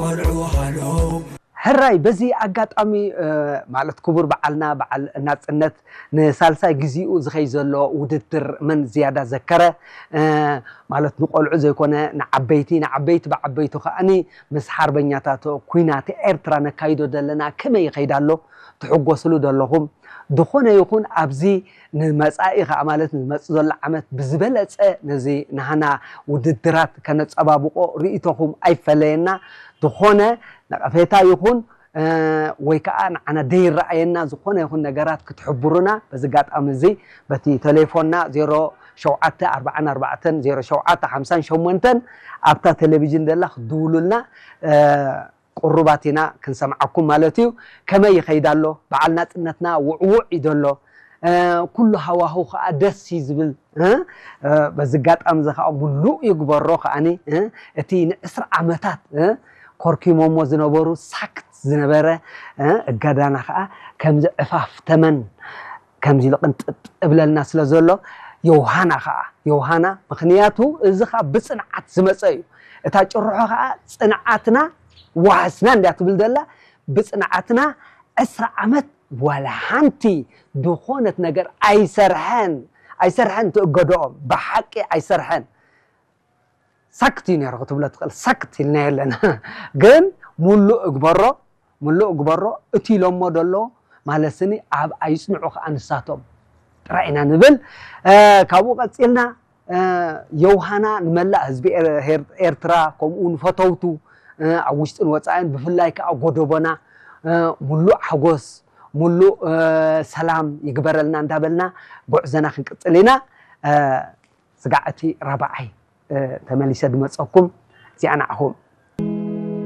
ቆልዑ ሃሎ። ሕራይ በዚ ኣጋጣሚ ማለት ክቡር በዓልና በዓል ናፅነት ንሳልሳይ ግዚኡ ዝኸይ ዘሎ ውድድር መን ዝያዳ ዘከረ ማለት ንቆልዑ ዘይኮነ ንዓበይቲ ንዓበይቲ ብዓበይቱ ከዓኒ ምስ ሓርበኛታት ኩናት ኤርትራ ነካይዶ ዘለና ከመይ ይኸይድ ኣሎ ትሕጎስሉ ዘለኹም ዝኾነ ይኹን ኣብዚ ንመጻኢ ከዓ ማለት ንመጽእ ዘሎ ዓመት ብዝበለጸ ነዚ ናህና ውድድራት ከነጸባብቆ ርእይቶኹም ኣይፈለየና ዝኾነ ነቐፌታ ይኹን ወይ ከዓ ንዓና ደይረኣየና ዝኾነ ይኹን ነገራት ክትሕብሩና በዚ ጋጣሚ እዚ በቲ ቴሌፎንና ዜሮ ሸውዓተ ኣርባዓን ኣርባዕተን ዜሮ ሸውዓተ ሓምሳን ሸሞንተን ኣብታ ቴሌቪዥን ደላ ክትድውሉልና ቅሩባት ኢና ክንሰምዓኩም ማለት እዩ። ከመይ ይኸይድ ኣሎ በዓል ናፅነትና ውዕውዕ እዩ ዘሎ። ኩሉ ሃዋሁ ከዓ ደስ እዩ ዝብል። በዚ ጋጣሚ እዚ ከዓ ሙሉእ ይግበሮ ከዓኒ እቲ ንዕስራ ዓመታት ኮርኪሞሞ ዝነበሩ ሳክት ዝነበረ እገዳና ከዓ ከምዚ ዕፋፍ ተመን ከምዚ ኢሉ ቅንጥጥ እብለልና ስለ ዘሎ ዮሃና ከዓ ዮሃና ምክንያቱ እዚ ከዓ ብፅንዓት ዝመፀ እዩ። እታ ጭርሖ ከዓ ፅንዓትና ዋህስና እንድያ ትብል ዘላ ብፅንዓትና ዕስራ ዓመት ዋላ ሓንቲ ዝኾነት ነገር ኣይሰርሐን ኣይሰርሐን ትእገድኦም ብሓቂ ኣይሰርሐን። ሳክት እዩ ነይሩ ክትብሎ ትኽእል ሳክት ኢልና የለና ግን ሙሉእ እግበሮ ሙሉእ እግበሮ እቲ ኢሎሞ ደሎ ማለት ስኒ ኣብ ኣይፅንዑ ከዓ ንሳቶም ጥራይ ኢና ንብል። ካብኡ ቀፂልና ዮውሃና ንመላእ ህዝቢ ኤርትራ ከምኡ ንፈተውቱ ኣብ ውሽጥን ወፃኢን ብፍላይ ከዓ ጎደቦና ሙሉእ ሓጎስ ሙሉእ ሰላም ይግበረልና እንዳበልና ጉዕዘና ክንቅፅል ኢና። ስጋዕ እቲ ራብዓይ ተመሊሰ ድመፀኩም እዚኣ ንዓኹም።